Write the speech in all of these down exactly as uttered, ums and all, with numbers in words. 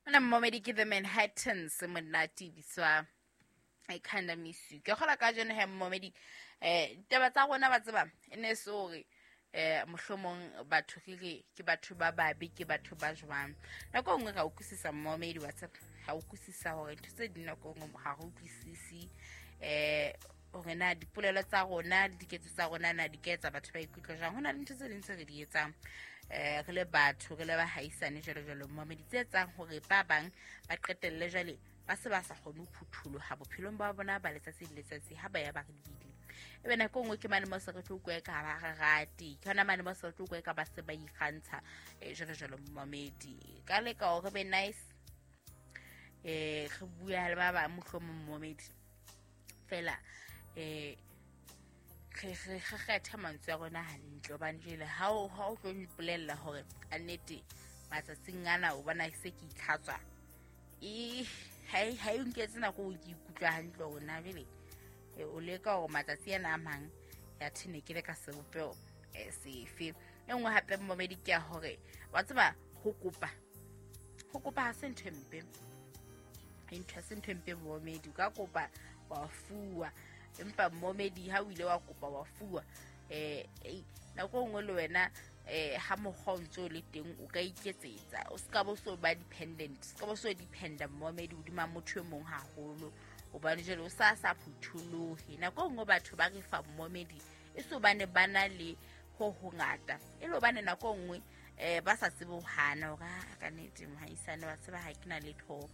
Mona mmomedi ke The Manhattans monate bitswa I kinda miss you. Ke kgola ka jeno he mmomedi eh ditaba tsa rona ba tseba e ne se hore eh mohlomong batho re re ke batho ba babe ke batho ba jwang. Nako e nngwe ra utlwisisa mmomedi wa tseba ha utlwisisa hore ntho tse ding nako e nngwe ha re utlwisisi eh hore na dipolelo tsa rona le diketso tsa rona na di ka etsa batho ba ikutlwa jwang. Ho na le ntho tse ding tse re di etsang eh re le batho re le bahaisane jwalo jwalo mmomedi tse etsang hore ba bang ba qetelle jwale ba se ba sa kgone ho phutholoha bophelong ba bona ba letsatsi le letsatsi ha ba ya ba re lebile. Ebe nako e nngwe ke mane mo se re tlo utlwa ka ba re rate, ke hona mane mo se re tlo utlwa ka ba se ba ikgantsha eh jwalo jwalo mmomedi. Ka leka hore be nice eh re bua le ba bang mohlomong mmomedi fela eh re re kgetha mantswe a rona hantle hobane jwale ha o ha o tlo mpolella hore a nnete matsatsing ana o bona se ke itlhatswa e ha e ha e nketse nako o ke ikutlwa hantle hore na jwale o leka hore matsatsi ana a mang ya thene ke le ka sebopeho sefe. E nngwe hape mmomedi ke ya hore wa tseba ho kopa ho kopa ha se ntho e mpe, ntho ha se ntho e mpe mmomedi. O ka kopa wa fuwa, empa mmomedi ha o ile wa kopa wa fuwa eh nako e nngwe le wena eh ha mokgwa o ntso le teng o ka iketsetsa, o ska bo so ba dependent, ska bo so dependa mmomedi hodima motho e mong haholo hobane jwale o sa sa phutholohe. Nako e nngwe batho ba re fa mmomedi e so bane ba na le ho hongata e le hobane nako e nngwe eh ba sa tsebe ho hana hore a ka nnete mohaisane wa tseba ha ke na letho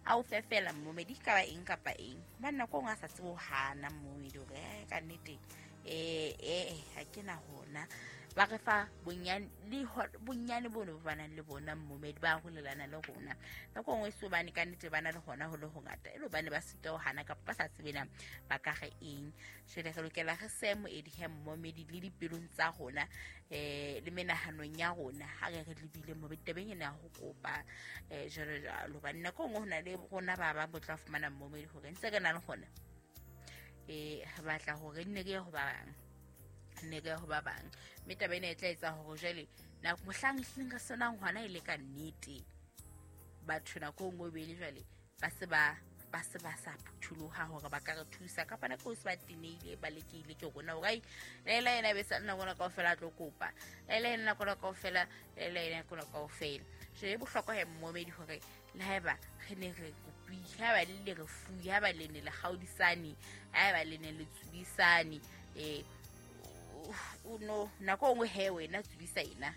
a o fe fela mmomedi ka ba eng kapa eng hobane nako e nngwe a sa tsebe ho hana mmomedi hore ka nnete eh eh ha ke na hona. Ba re fa bonyane le bonyane bono ba nang le bona mmomedi ba holelana le rona. Nako e nngwe se hobane ka nnete ba na le hona ho le hongata e le hobane ba sita ho hana kapa ba sa tsebe na ba ka re eng. Jwale re lokela re se moedi he mmomedi le dipelong tsa rona eh le menahanong ya rona ha re re lebile mmomedi tabeng ena ya ho kopa eh jwalo jwalo hobane nako e nngwe ho na le rona ba bang bo tla fumana mmomedi hore ntse re na le hona eh re batla hore nne re ye ho ba bang nne re ye ho ba bang mme taba ena e tla etsa hore jwale nako mohlang ehlileng re senang hona e le ka nnete batho nako e nngwe be le jwale ba se ba ba se ba sa phutholoha hore ba ka re thusa kapa nako e se ba tenehile ba lekile ke rona hore ai Laila yena be sa nna rona kaofela a tlo kopa, Laila yena nako rona kaofela, Laila yena nako rona kaofela. Jwale e bohlokwa he mmomedi hore le haeba re ne re kopile, haeba le le re fuwe, haeba le ne le kgaodisane, haeba le ne le tsubisane eh o no nako e nngwe he wena tsubisa ena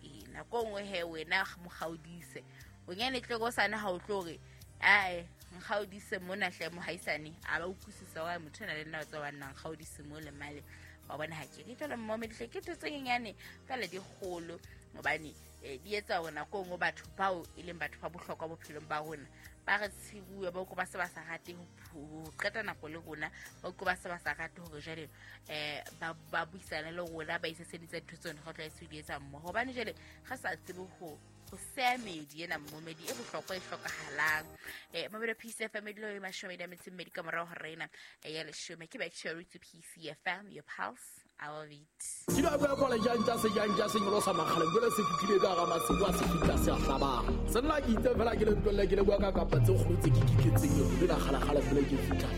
eh nako e nngwe he wena mo kgaodise bonyane tle go sana ha o tlo re ae nkgaodise mona hle mohaisane a ba utlwisisa wa motho ena le nna o tsa wa nna nkgaodise mo le male wa bona ha ke ke jwale mmomedi hle ke ntho tse nyenyane fela di kgolo hobane di etsa hore nako e nngwe batho bao e leng batho ba bohlokwa bophelong ba rona ba re tshibuwe ba utlwe ba se ba sa rate ho qeta nako le rona, ba utlwe ba se ba sa rate hore jwale eh ba ba buisane le rona ba iseseditse dintho tseno re tlwaetse ho di etsa mmoho hobane jwale re sa tsebe ho ho seya medi ena mmomedi e bohlokwa e hlokahalang. Eh Mabelo P C F M dilo e mashome a metso e mmedi ka morao ho rena ya leshome ke back to P C F M, your pulse, our beat. Ke ba bua kola jang tsa se jang tsa se nyolosa makgale jwale se fihlile ka hara masibu a se fihla se a hlabang. Se nna ke itse fela ke le ntwelle ke le bua ka kapa tse kgolo tse ke kiketseng le la kgalakgala fela ke fihla.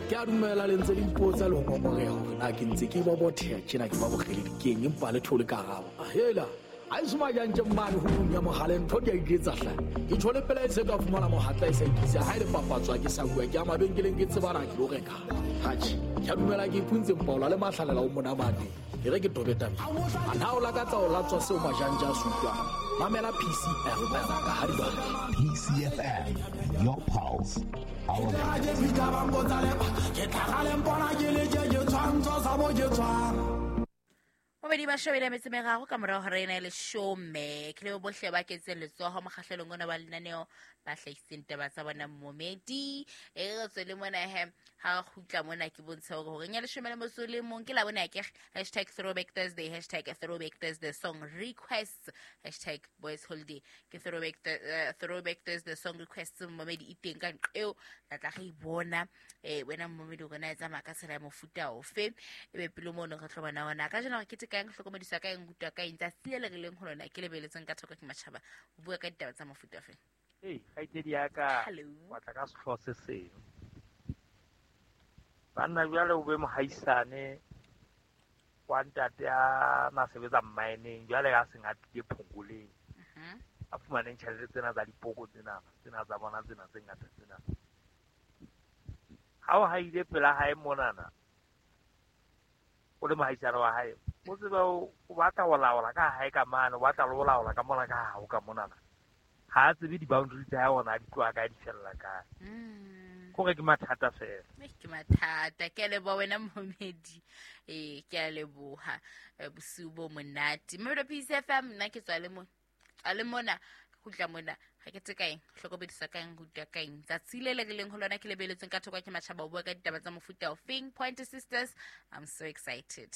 Ke a dumela le ntse le ipotsa le ho ngongoreha hore na ke ntse ke ba botheha tjena ke ba bokgeledi keng empa le thole karabo. Hela a e soma jang tje mane ho ya mohale ntho di a iketsa hle. Ke tshole pela e se ka fumana mohatla e sa ikisa ha ile papatswa ke sa bua ke a mabenkeleng ke tsebana ke lo reka. Hatjhe, ke a dumela ke ipuntse mpaola le mahlalela o monamane. E re ke tobe tabe. A na o lakatsa o latswa seo majanja a sutlwang. Mamela P C F M ka ha di ba. P C F M, your pulse, our beat. Mobedi ba shobile metsi meraro ka morao hore ena e leshome ke le bohle ba ketseng letsoho mokgahlelong ona wa lenaneo ba hlahisitseng taba tsa bona mmomedi e re tswele mona he ha kgutla mona ke bontsha hore hore nya leshome le motso le mong ke la bona ke hashtag throwback Thursday, hashtag throwback Thursday song requests, hashtag boys holiday ke throwback uh, throwback Thursday song requests mmomedi e teng ka eo tla tla re bona eh wena mmomedi o rona e tsamaya ka tsela ya mofuta ofe e be pele mono re tlo bona ona ka jeno re keteka kang, ke hlokomediswa ka eng, rutwa ka eng. Tsatsi le le re leng ho lona ke lebeletseng ka thoko ke matjhaba. O bua ka ditaba tsa mofuta ofe? Ee, kgaitsedi ya ka, Hello. wa tla ka sehlooho se seng. Banna jwale o be mohaisane wa ntate a na sebetsa mmineng, jwale a seng a tlile phongoleng. Mhm. A fumaneng tjhelete tsena tsa dipoko tsena, tsena tsa bona tsena tse ngata tsena. Ha o haile pela hae monana, o le mohaisane wa hae, o tsebe o o batla ho laola ka hae ka mane, o batla le ho laola ka mona ka hao ka monana. Ha a tsebe di-boundary tsa hae hore na di tloha kae, di fella kae. Mm. Kore ke mathata fela. Eh, ke mathata. Ke a leboha wena momedi. Eh, ke a leboha. Eh, bosiu bo monate. Mamelodi Peace F M, nna ke tswa le mona. Tswa le mona, kgutla mona. Ga ke tse ka eng, hlokomedisa ka eng, rutwa ka eng. Tsatsi le le re leng ho lona ke lebeletsweng ka thoko ke matjhaba, o bua ka ditaba tsa mofuta ofeng. Pointer Sisters, I'm so excited.